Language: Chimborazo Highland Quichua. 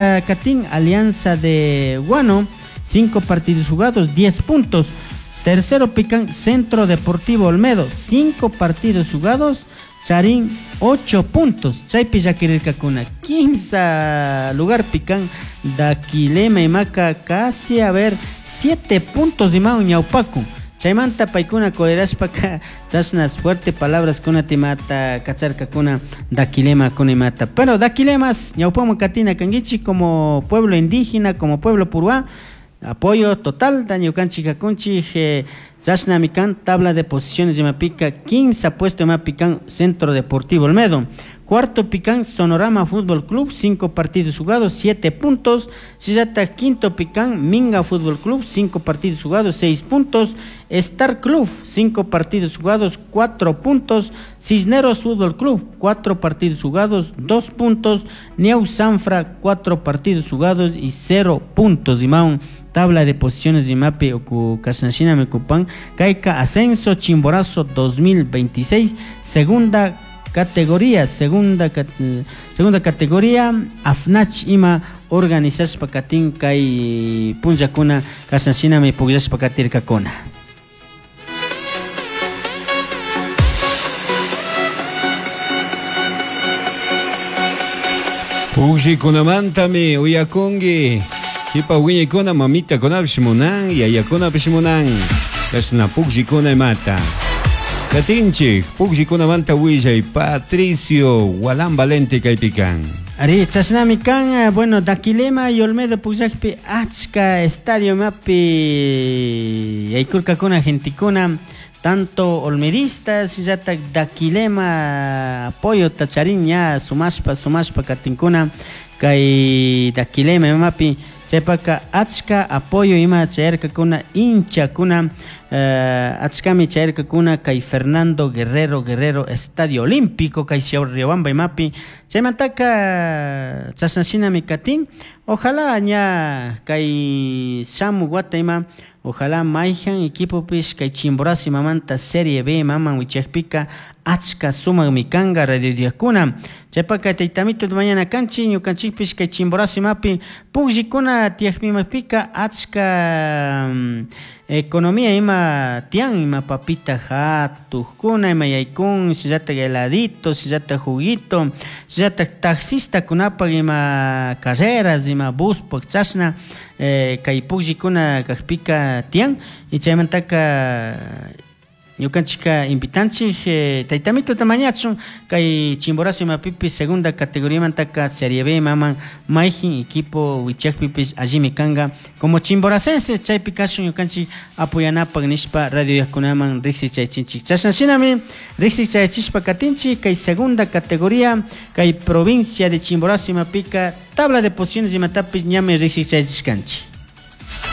Katin Alianza de Guano, 5 partidos jugados, 10 puntos. Tercero pican Centro Deportivo Olmedo, 5 partidos jugados, Charín 8 puntos. Chaypi llakirirkakuna 15 lugar pican Daquilema imaka casi a ver 7 puntos imawan ñawpakun. Chaymanta paykuna colerashpaka chashna fuerte palabras kunata imata kacharkakuna Daquilema kuna imata. Pero Daquilemas ñawpaman katina kankichik como pueblo indígena, como pueblo purúa, apoyo total ñukanchik kakunchik chashnami kan tabla de posiciones imapika 15 puesto imapi kan Centro Deportivo Olmedo. Cuarto pican Sonorama Fútbol Club, 5 partidos jugados, 7 puntos. Sillata quinto pican Minga Fútbol Club, 5 partidos jugados, 6 puntos. Star Club, 5 partidos jugados, 4 puntos. Cisneros Fútbol Club, 4 partidos jugados, 2 puntos. Neu Sanfra, 4 partidos jugados y 0 puntos. Imaun, tabla de posiciones de Imapi uku kashnashina mikupan. Kaika Ascenso Chimborazo 2026, segunda categoría, segunda categoría AFNACH ima organizashpa katin kay punllakuna kashnashinami pukllashpa katirkakuna. Pukllikunamantam uyakunki kipa wiñaykuna mamitakunapish munan yayakunapish munan kashna pukllikuna imata. Katinchik pukllikunamanta willay Patricio Gualán Valente kaypi kan. Ari, chashnami kan, bueno, Daquilema y Olmedo pukllakpi achka estadio mapi yaykurkakuna gentikuna, tanto olmedistas llatak Daquilema apoyo tacharin ña sumashpa sumashpa katinkuna kay Daquilema imapi chaypaka achka apoyo ima chayarkakuna hinchakuna achkami chayarkakuna kay Fernando Guerrero Guerrero Estadio Olímpico kay Riobamba imapi chaymantaka chashnashinami katin ojalá ña kay shamu wata ima ojalá mayjan equipopish kay Chimborazo imamanta Serie B imaman wichakpika achka sumakmi kanka radio diakuna chaypaka taytamito mañana kanchik ñukanchikpish kay Chimborazo imapi pukllikuna tiyakpimapika achka economía ima tiyan ima papita hatukkuna ima yaykun shinallatak heladito shinallatak juguito shinallatak taxistakunapak ima carreras ima buspak chashna kay pukllikuna kakpika tiyan y chaymantaka ñukanchikka invitanchik taytamituta mañachun kay Chimborazo imapipish segunda categoriamantaka Serie B imaman mayjin equipo wichakpipish allimi kanka como chimboracense chaypi kashun ñukanchik apoyanapak nishpa radio yakunaman riksichaychinchik chashnashinami riksichaychishpa katinchik kay segunda categoría kay provincia de Chimborazo imapika tabla de posiciones imatapish ñami riksichaychishkanchik.